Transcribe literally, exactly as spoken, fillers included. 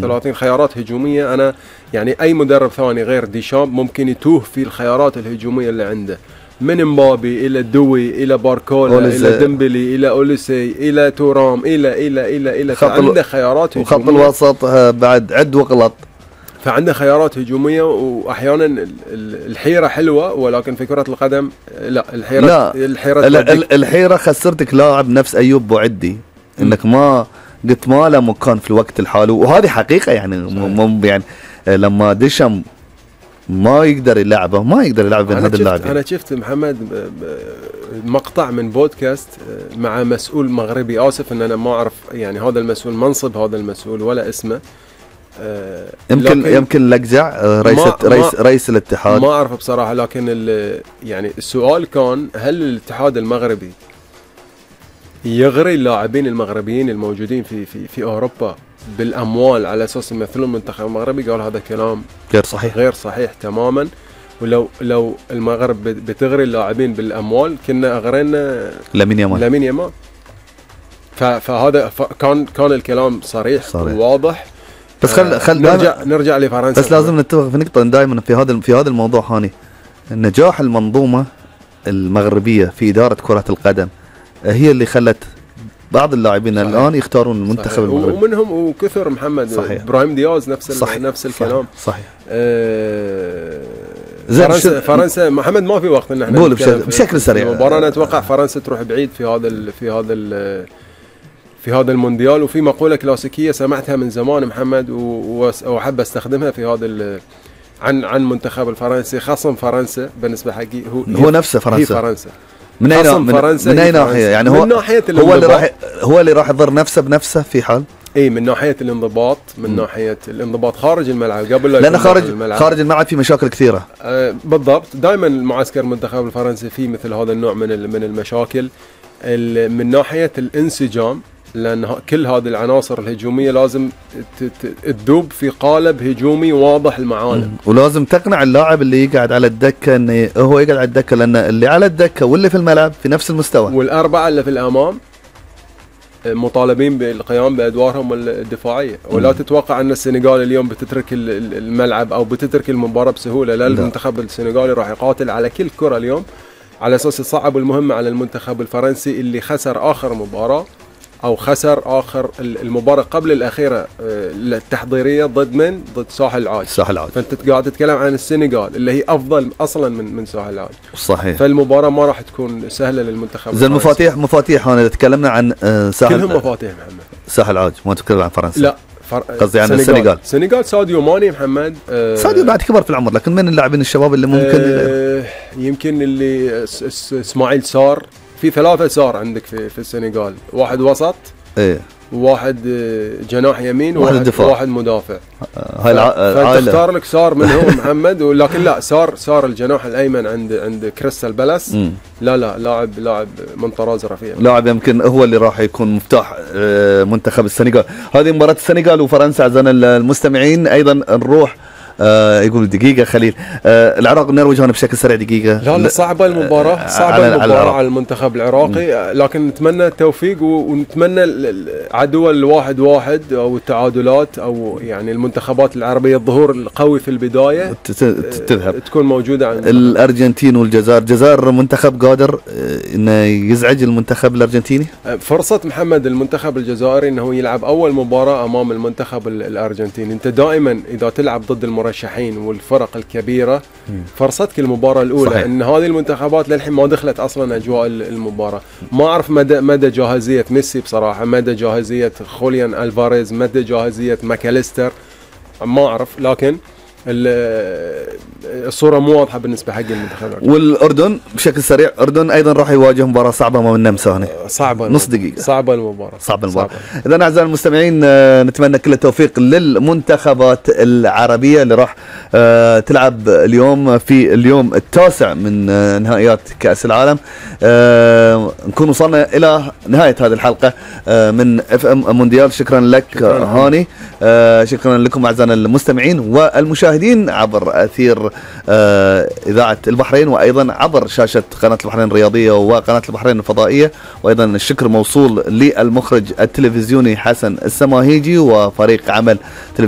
ثلاثين خيارات هجوميه. انا يعني اي مدرب ثاني غير ديشامب ممكن يتوه في الخيارات الهجوميه اللي عنده، من مبابي الى دوي الى باركولا الى ديمبلي الى اوليسي الى تورام الى الى الى الى فعنده خيارات هجوميه. وخط الوسط بعد عد وغلط، فعنده خيارات هجوميه. واحيانا الحيره حلوه، ولكن في كره القدم لا، الحيره لا الحيره الحيره خسرتك لاعب نفس ايوب بوعدي، انك ما قلت ما له مكان في الوقت الحالي، وهذه حقيقه يعني مم يعني لما ديشام ما يقدر يلعبه ما يقدر يلعب بين هذا اللاعب. انا شفت محمد مقطع من بودكاست مع مسؤول مغربي، اسف ان انا ما اعرف يعني هذا المسؤول منصب هذا المسؤول ولا اسمه، يمكن يمكن لقجع رئيس رئيس رئيس الاتحاد، ما اعرف بصراحه. لكن يعني السؤال كان هل الاتحاد المغربي يغري اللاعبين المغربيين الموجودين في في في اوروبا بالاموال على اساس يمثلون المنتخب المغربي؟ قال هذا كلام غير صحيح، غير صحيح تماما. ولو لو المغرب بتغري اللاعبين بالاموال كنا اغرينا لامين يامال لامين يامال. فهذا كان كان الكلام صريح, صريح. وواضح. بس خل خل نرجع نرجع لفرنسا. بس لازم نتفق في نقطه دائما في هذا في هذا الموضوع هاني، نجاح المنظومه المغربيه في اداره كره القدم هي اللي خلت بعض اللاعبين صحيح. الان يختارون المنتخب المغربي، ومنهم وكثر محمد صحيح. ابراهيم دياز نفس صحيح. نفس الكلام صحيح. آه فرنسا فرنسا محمد ما في وقت ان احنا نقول بشكل, بشكل سريع. المباراه انا اتوقع فرنسا تروح بعيد في هذا ال في هذا ال في هذا المونديال. وفي مقوله كلاسيكيه سمعتها من زمان محمد واحب استخدمها في هذا عن عن منتخب الفرنسي، خصم فرنسا بالنسبه حقي هو هو نفسه فرنسا. هي فرنسا من اي من, من اي ناحيه يعني؟ هو ناحية هو اللي راح هو اللي راح يضر نفسه بنفسه في حال اي من ناحيه الانضباط، من م. ناحيه الانضباط خارج الملعب قبل لا لان خارج الملعب. خارج الملعب في مشاكل كثيره. آه بالضبط. دائما المعسكر المنتخب الفرنسي فيه مثل هذا النوع من من المشاكل من ناحيه الانسجام، لان كل هذه العناصر الهجوميه لازم تذوب في قالب هجومي واضح المعالم، ولازم تقنع اللاعب اللي يقعد على الدكه انه هو يقعد على الدكه، لان اللي على الدكه واللي في الملعب في نفس المستوى، والاربعه اللي في الامام مطالبين بالقيام بادوارهم الدفاعيه. ولا م. تتوقع ان السنغال اليوم بتترك الملعب او بتترك المباراه بسهوله. لا, المنتخب السنغالي راح يقاتل على كل كره اليوم على اساس يصعب المهمه على المنتخب الفرنسي اللي خسر اخر مباراه او خسر اخر المباراه قبل الاخيره التحضيريه ضد من؟ ضد ساحل العاج. ساحل العاج. فانت قاعد تتكلم عن السنغال اللي هي افضل اصلا من من ساحل العاج. صحيح. فالمباراه ما راح تكون سهله للمنتخب. زين مفاتيح مفاتيح هنا تكلمنا عن ساحل، كلهم مفاتيح محمد. ساحل العاج ما تتكلم عن فرنسا. لا قصدي عن السنغال. السنغال ساديو ماني محمد. آه ساديو بعد كبر في العمر، لكن من اللاعبين الشباب اللي ممكن آه يمكن اللي اسماعيل سار. في ثلاثه سار عندك في في السنغال، واحد وسط ايه، واحد جناح يمين، واحد دفاع، واحد مدافع. هاي العائله فتختار لك سار منهم محمد. ولكن لا، سار سار الجناح الايمن عند عند كريستال بالاس. لا لا لاعب لاعب من طراز رفيع، لاعب يمكن هو اللي راح يكون مفتاح منتخب السنغال. هذه مباراه السنغال وفرنسا. اعزائنا المستمعين ايضا نروح آه يقول دقيقة خليل، آه العراق نروج هنا بشكل سريع دقيقة. لا لا صعبة المباراة، صعبة على المباراة على, على المنتخب العراقي. لكن نتمنى التوفيق ونتمنى عدوى الواحد واحد أو التعادلات أو يعني المنتخبات العربية الظهور القوي في البداية تذهب تكون موجودة عند الأرجنتين والجزائر. الجزائر منتخب قادر إنه يزعج المنتخب الأرجنتيني. فرصة محمد المنتخب الجزائري إنه يلعب أول مباراة أمام المنتخب الأرجنتيني. أنت دائما إذا تلعب ضد المرشحين والفرق الكبيرة فرصتك المباراة الأولى. صحيح. إن هذه المنتخبات للحين ما دخلت أصلا أجواء المباراة. ما أعرف مدى مدى جاهزية ميسي بصراحة، مدى جاهزية خوليان ألفاريز، مدى جاهزية ماكاليستر ما أعرف. لكن الصورة مو واضحة بالنسبة حق المنتخب. والأردن بشكل سريع، الأردن أيضا راح يواجه مباراة صعبة أمام النمسا هنا. صعبة نص دقيقة. صعبة المباراة. صعبة المباراة. إذا أعزائي المستمعين نتمنى كل التوفيق للمنتخبات العربية اللي راح تلعب اليوم في اليوم التاسع من نهائيات كأس العالم. نكون وصلنا إلى نهاية هذه الحلقة من اف ام مونديال. شكرا لك شكرا هاني. شكرا لكم أعزائنا المستمعين والمشاهدين. المشاهدين عبر أثير آه إذاعة البحرين، وأيضا عبر شاشة قناة البحرين الرياضية وقناة البحرين الفضائية. وأيضا الشكر موصول للمخرج التلفزيوني حسن السماهيجي وفريق عمل تلفزيون